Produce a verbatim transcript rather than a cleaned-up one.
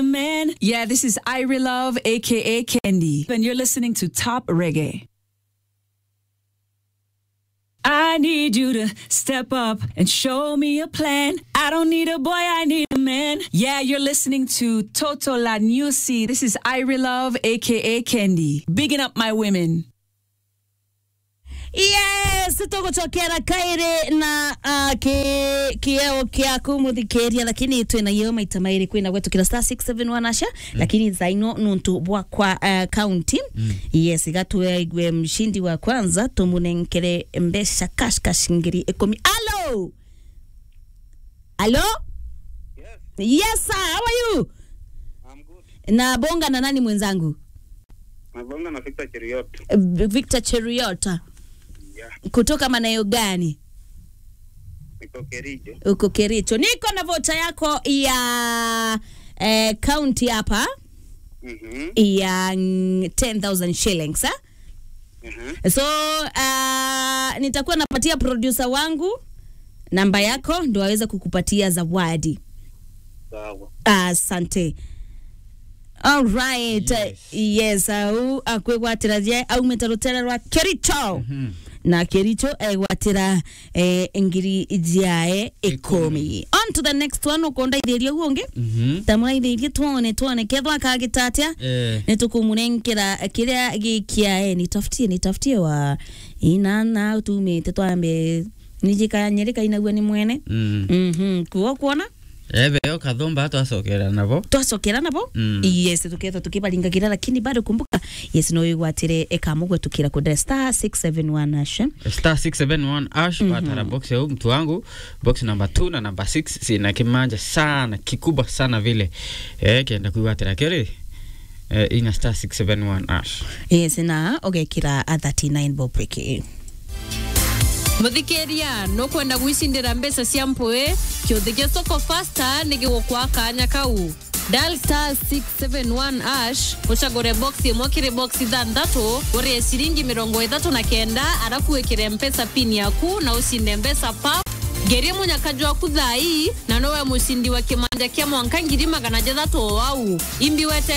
a man. Yeah, this is Irie Love, A K A Candy. And you're listening to Top Reggae. I need you to step up and show me a plan. I don't need a boy, I need a man. Yeah, you're listening to Toto La Nusi. This is Irie Love, A K A Candy. Bigging up my women. Yes, tugucokera kairi na, ah, ki-, kieo kiaku muthikiria, lakini twina yo maita mairi kwina gwetukira star six seven one asha, lakini thaino nuntu bwa kwa, ah, county. Yes, iga tuegue mshindi wa kwanza, tumunenkere mbeca cash cash ngiri ikumi. Alo? Alo? Yes. Yes, sir. How are you? I'm good. Na bonga na nani mwenzangu? Nabonga na Victor Cheriot. Eh, Victor Cheriot. Yeah. Kutoka maeneo gani? Niko Kericho. Uko Kericho. Niko na voucher yako ya, eh, county hapa. Mhm. Ya, mm, ten thousand shillings, eh? Mhm. So, ah, nitakuwa napatia producer wangu namba yako ndo aweze kukupatia zawadi. Sawa. Asante. All right. Yes. Yes, au akwigwatira je, aumite rutere rwa Kericho. Mhm. Na Kericho egwatira, eh, ngiri jiae ikumi. Ikumi. On to the next one, ukondaithiria u ungi? Mhm. Tamuraithirie twone, twone kethwa akagita atia. Eh. Nitukumunenkera kiria gikiae. Nitafutie, nitafutie wa inana utumite twambe. Nijika nyereka inagua ni mwene. Mm. Mhm. Kuo kuona? Ebe yo kathumba twacokera nabo. Twacokera nabo? Mm. Yes, tuketha tukibaringagira, lakini bado kumbuka, yes, no igwatire ekamu gwetukira kudira star six seven one hash. Star six seven one hash, mhm, batara box ya mtu wangu, box number two na number six, sina kimanja sana, kikubwa sana vile. Eh, kenda kwigwatira kiri, eh, inya star six seven one hash. Yes, na ugekira a thirty-nine bob peke. Muthikiria, nukwenda gwicindira mbeca cia mpui? Kiuthi gia Soko Fasta ni gigukwa kanya kau. Dial star six seven one hash, ucagure box imwe kiri box ithanthatu, urie ciringi mirongo ithatu na kenda, arafu wikire Mpesa pin yaku na ucinde mbeca pap. Ngerie munyaka jwaku thaa ii, na nowe mucindi wa kimanja kia mwanka ngiri magana jathatu o au. Imbi wete